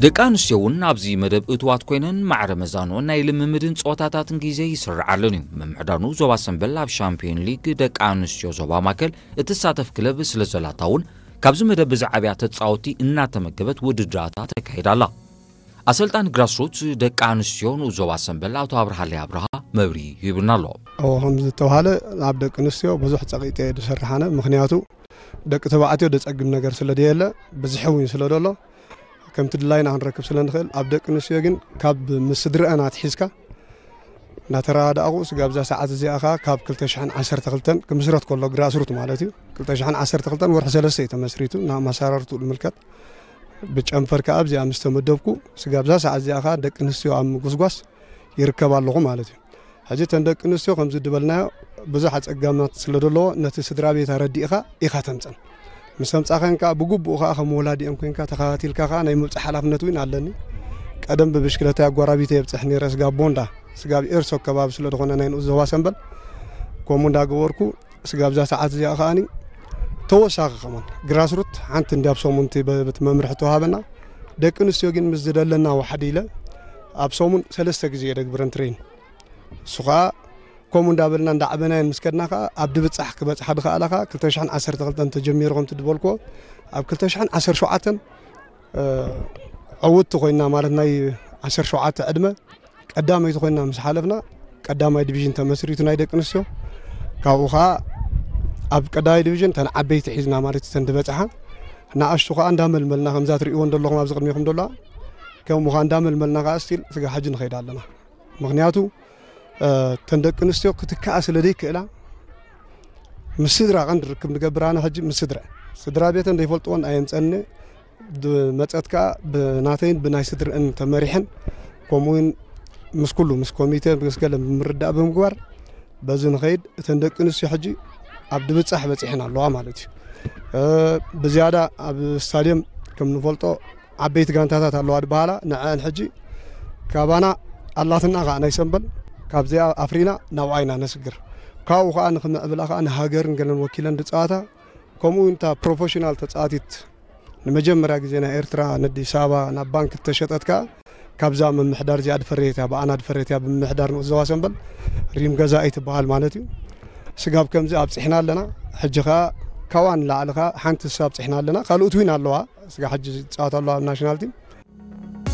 ደቂ ኣንስትዮ እውን ኣብዚ መደብ እትዋት ኮይነን ማዕረ መዛንኦን ናይ ልምምድን ጸወታታትን ግዜ ይስርዓለን እዩ። ምምሕዳር ንኡስ ዞባ ሰምበል ኣብ ሻምፒዮን ሊግ ደቂ ኣንስትዮ ዞባ ማእከል እትሳተፍ ክለብ ስለ ዘላታ እውን ካብዚ መደብ ብዝዓብያ ተጻወቲ እናተመገበት ውድድራታ ተካይዳ ኣላ። ኣሰልጣኒ ግራስሩት ደቂ ኣንስትዮ ንኡስ ዞባ ሰምበል ኣቶ ኣብርሃለይ ኣብርሃ መብርሂ ሂቡና ኣሎ። እዎ፣ ከም ዝተባሃለ ኣብ ደቂ ኣንስትዮ ብዙሕ ጸቂጠ እየ ዝሰርሕ ኣነ። ምኽንያቱ ደቂ ተባዕትዮ ደጸግም ነገር ስለ ደየለ፣ ብዝሒ እውን ስለ ደሎ፣ ከምቲ ድላይና ክንረክብ ስለ ንኽእል፣ ኣብ ደቂ ኣንስትዮ ግን ካብ ምስ ስድረአን ኣትሒዝካ እናተረዳእኹ፣ ስጋብ እዛ ሰዓት እዚኣ ኸኣ ካብ ክልተ ሽሕን ዓሰርተ ክልተን ክምስረት ከሎ ግራስሩት ማለት እዩ። ክልተ ሽሕን ዓሰርተ ክልተን ወርሒ ሰለስተ እዩ ተመስሪቱ፣ ናብ ኣመሰራርትኡ ንምልከት። ብጨንፈር ከኣ ኣብዚኣ ምስ ተመደብኩ፣ ስጋብ እዛ ሰዓት እዚኣ ኸኣ ደቂ ኣንስትዮ ኣብ ምጉስጓስ ይርከብ ኣለኹ ማለት እዩ። ሕጂ እተን ደቂ ኣንስትዮ ከምዚ ድበልናዮ ብዙሕ ኣጸጋማት ስለ ዘለዎ፣ ነቲ ስድራ ቤት ኣረዲእኻ ኢኻ ተምጸን። ምስ ኣምጻኻን ከኣ ብግቡእ ከኣ ከም ወላዲኦም ኮይንካ ተኸታቲልካ ከኣ ናይ ምብጻሕ ሓላፍነት እውን ኣለኒ። ቀደም ብብሽክለታ ኣጓራቢተ የብጽሕ ነይረ፣ ስጋብ ቦንዳ፣ ስጋብ ኤርሶ ከባቢ ስለ ዝኾነ ናይ ንኡስ ዞባ ሰምበል፣ ከምኡ እንዳገበርኩ ስጋብ እዛ ሰዓት እዚኣ ከኣኒ ተወሳኺ ከማን ግራስሩት ሓንቲ እንዲ ኣብ ሰሙን እቲ በ-፣ በቲ መምርሒ ተዋሃበና። ደቂ ኣንስትዮ ግን ምስ ዝደለና ዋሕዲ ኢለ ኣብ ሰሙን ሰለስተ ግዜ እየ ደግብረን ትሬን። እሱ ኸኣ ከምኡ እንዳበልና እንዳዓበናየን ምስ ከድና ኸኣ ኣብ ድብጻሕ ክበጽሓ ድኸኣላ ኸኣ ክልተ ሽሕን ዓሰርተ ክልተን ተጀሚሩ ከምቲ ድበልክዎ ኣብ ክልተ ሽሕን ዓሰርተ ሸውዓተን፣ እ፣ ዕውትቲ ኮይንና ማለት ናይ ዓሰርተ ሸውዓተ ዕድመ ቀዳመይቲ ኮይንና ምስ ሓለፍና ቀዳማይ ዲቪዥን ተመስሪቱ ናይ ደቂ ኣንስትዮ። ካብኡ ኸኣ ኣብ ቀዳማይ ዲቪዥን ተን ዓበይቲ ሒዝና ማለት እዩ፣ ተን ድበጽሓ። ንኣሽቱ ኸኣ እንዳመልመልና ከምዛ ትርእይወን ዘለኹም ኣብዚ ቅድሜኹም ዘለዋ ከምኡ ኸኣ እንዳመልመልና ኸኣ ስቲል ስጋ ሕጂ ንኸይድ ኣለና። ምኽንያቱ፣ እ፣ ተን ደቂ ኣንስትዮ ክትከኣ ስለ ዘይክእላ ምስ ስድራ ቀንዲ ርክብ ንገብር ኣነ ሕጂ ምስ ስድራ። ስድራ ቤተን ዘይፈልጥወን ኣየምጸኒ። ድ-፣ መጸት ከኣ ብናተይን ብናይ ስድርአን ተመሪሐን፣ ከምኡ እውን ምስ ኩሉ፣ ምስ ኮሚተ፣ ምስ ገለ ብምርዳእ ብምግባር፣ በዚ ንኸይድ እተን ደቂ ኣንስትዮ ሕጂ ኣብ ድብጻሕ በጺሐን ኣለዋ ማለት እዩ። እ፣ ብዝያዳ ኣብ ስታድየም ከም ንፈልጦ ዓበይቲ ጋንታታት ኣለዋ ድበሃላ፣ ንዐአን ሕጂ ካባና ኣላትና ከኣ ናይ ሰምበል ካብዚኣ ኣፍሪና ናብኣ ኢና ነስግር። ካብኡ ከኣ ንኽምዕብላ ከኣ ንሃገርን ገለን ወኪለን ድጻወታ፣ ከምኡ እውን እታ ፕሮፌሽናል ተጻዋቲት ንመጀመርያ ግዜ ናይ ኤርትራ ንኣዲስ ኣበባ ናብ ባንክ እተሸጠት ከኣ ካብዛ ምምሕዳር እዚኣ ድፈረየት እያ፣ ብኣና ድፈረየት እያ፣ ብምምሕዳር ንኡስ ዞባ ሰምበል ሪም ገዛኢ ትበሃል ማለት እዩ። ስጋብ ከምዚ ኣብጺሕና ኣለና። ሕጂ ከኣ ካዋ ንላዕሊ ከኣ ሓንቲ ንሳ ኣብጺሕና ኣለና። ካልኦት እውን ኣለዋ፣ ስጋ ሕጂ ዝጻወታ ኣለዋ ኣብ ናሽናል ቲም።